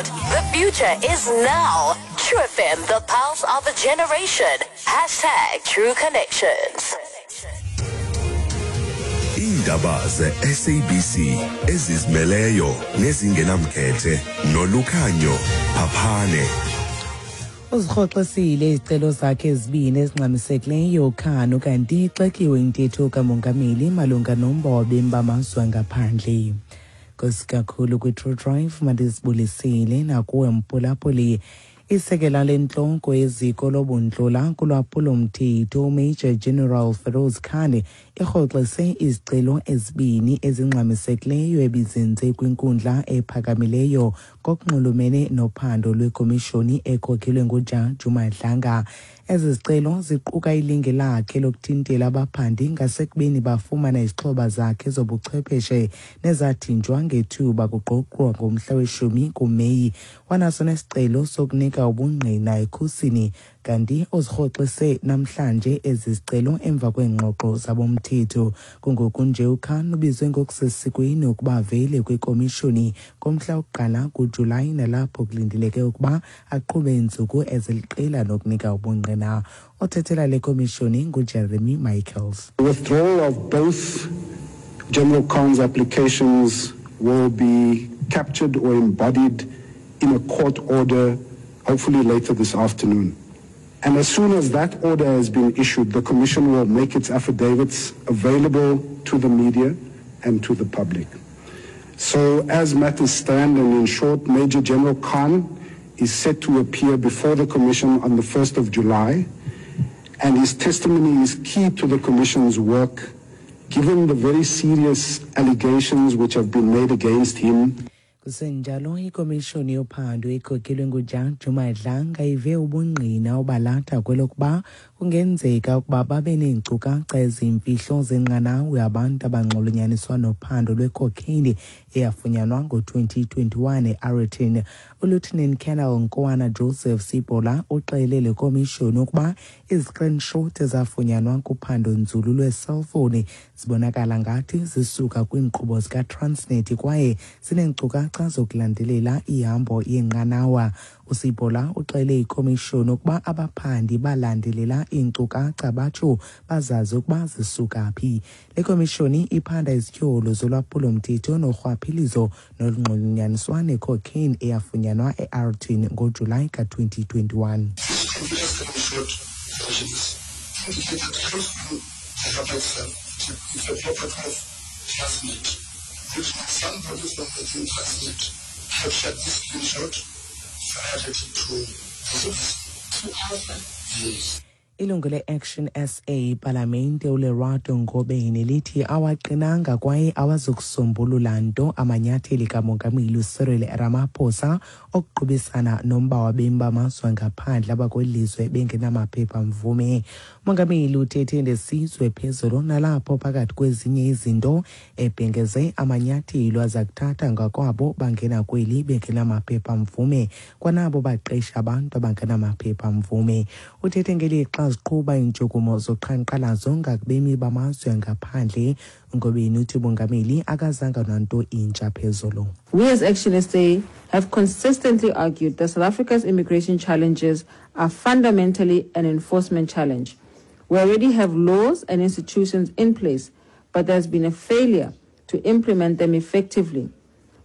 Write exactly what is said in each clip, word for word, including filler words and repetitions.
cloud. The future is now. True F M, the pulse of a generation. Hashtag True Connections. Iindaba ze-S A B C ezizimeleyo nezingenamkhethe nolukhanyo Phaphane. Uzirhoxisile izicelo zakhe ezibini ezingxamisekileyo Khan kanti ixekiwe intetho kamongameli malunga nomba wabemi bamazwe ngaphandle. Nkosi kakhulu kwi-True Drive mandizibulisile nakuwe mphulaphuli. Isekela lentloko yeziko lobuntlola kulwaphulo-mthetho Major General Feroz Khan irhoxise izicelo ezibini ezingxamisekileyo ebizenze kwinkundla ephakamileyo ngokunxulumene nophando lwekomishoni ekhokelwe nguJaji Madlanga. Ezi zicelo ziquka ilinge lakhe lokuthintela abaphandi ngasekubeni bafumana izixhobo zakhe zobuchwepheshe nezathinjwa ngethuba kugqogqwa ngomhla weshumi kuMeyi. Wanaso nesicelo sokunika ubungqina ekhusini, kanti uzirhoxise namhlanje ezi zicelo emva kweengxoxo zabomthetho. Kungoku nje uKhan ubizwe ngokusesikweni ukuba avele kwikomishoni ngomhla wokuqala kuJulayi, nalapho kulindeleke ukuba aqhube iintsuku eziliqela nokunika ubungqina. Othethela le komishoni nguJeremy Michaels. The withdrawal of both General Khan's applications will be captured or embodied in a court order, hopefully later this afternoon. And as soon as that order has been issued, the Commission will make its affidavits available to the media and to the public. So as matters stand, and in short, Major General Khan is set to appear before the Commission on the first of July, and his testimony is key to the Commission's work, given the very serious allegations which have been made against him. Kusenjalo, ikomishoni yophando ekhokelwe nguJaji Madlanga ive ubungqina obalatha kwelokuba kungenzeka ukuba babe neenkcukacha eziyimfihlo zenqanawe abantu abanxulunyaniswa nophando lwecocaine eyafunyanwa ngo-twenty twenty-one e-Aeroton. ULieutenant Colonel Nkoana Joseph Sibola uxelele le komishoni ukuba izi-screenshot ezafunyanwa kuphando nzulu lweeselfowuni zibonakala ngathi zisuka kwiinkqubo zikaTransnet kwaye zineenkcukacha zokulandelela ihambo yenqanawa. USibola uxele ikomishoni ukuba abaphandi balandelela iinkcukacha batsho bazazi ukuba zisuka phi. Le komishoni iphanda izityholo zolwaphulo-mthetho norhwaphilizo nolunxulunyaniswa necocaine eyafunyanwa e-Aeroton ngoJulayi ka-twenty twenty-one. Ilungu le-Action S A Palamente uLerato Ngobeni lithi awaqinanga kwaye awazukusombulula nto amanyatheli kamongameli uCyril Ramaphosa okuqubisana nomba wabemi bamazwe ngaphandle abakwelizwe bengenamaphepha mvume. Umongameli uthethe nesizwe phezulu nalapho phakathi kwezinye izinto ebhengeze amanyathelo aza kuthatha ngakwabo bangena kweli bengenamaphepha mvume kwanabo baqesha abantu abangenamaphepha mvume. Uthethe ngelixa ziqhuba iintshukumo zoqhankqalazo ngakubemi bamazwe ngaphandle. Ngobeni uthi umongameli akazanga nanto intsha phezulu. We as Action S A have consistently argued that South Africa's immigration challenges are fundamentally an enforcement challenge. We already have laws and institutions in place, but there's been a failure to implement them effectively.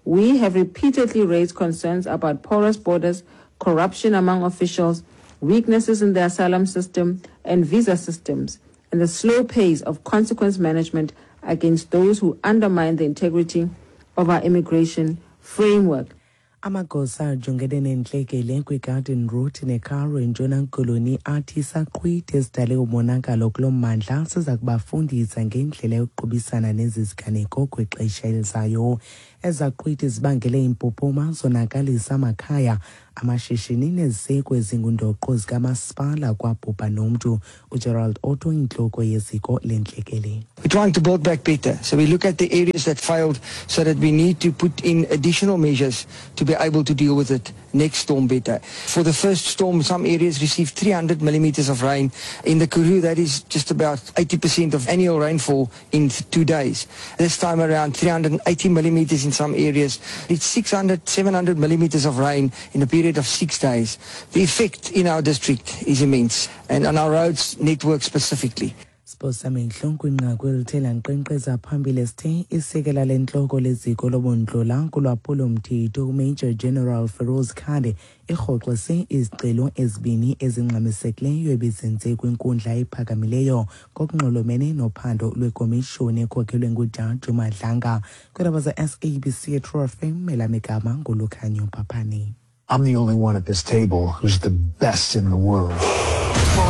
We have repeatedly raised concerns about porous borders, corruption among officials, weaknesses in the asylum system and visa systems, and the slow pace of consequence management against those who undermine the integrity of our immigration framework. Amagosa ajongene nentlekele kwiGarden Route neKaroo eNtshona Koloni athi isaqhwithi esidale umonakalo kulo mmandla siza kubafundisa ngendlela yokuqubisana nezi ziganeko kwixesha elizayo. Ezaqhwithi zibangele impuphuma zonakalisa amakhaya, amashishini neziseko ezingundoqo zikamasipala kwabhubha nomntu. uGerald Otto, intloko yeziko lentlekele. We're trying to build back better. So we look at the areas that failed so that we need to put in additional measures to be able to deal with it next storm better. For the first storm, some areas received three hundred millimeters of rain. In the Karoo, that is just about eighty percent of annual rainfall in two days. This time around, three hundred eighty millimeters in some areas. It's six hundred, seven hundred millimeters of rain in a period of six days. The effect in our district is immense, and on our roads network specifically. Siposamehlo kwinqaku elithe lankqenkqeza phambili sithe isekela lentloko leziko lobundlola kulwaphulo-mthetho uMajor General Feroz Khan irhoxise izicelo ezibini ezingxamisekileyo ebezenze kwinkundla ephakamileyo ngokunxulumene nophando lwekomishoni ekhokhelwe ngujaji Madlanga. Kwiindaba ze-S A B C True F M, elam igama nguLukhanyo Phaphane. I'm the only one at this table who's the best in the world.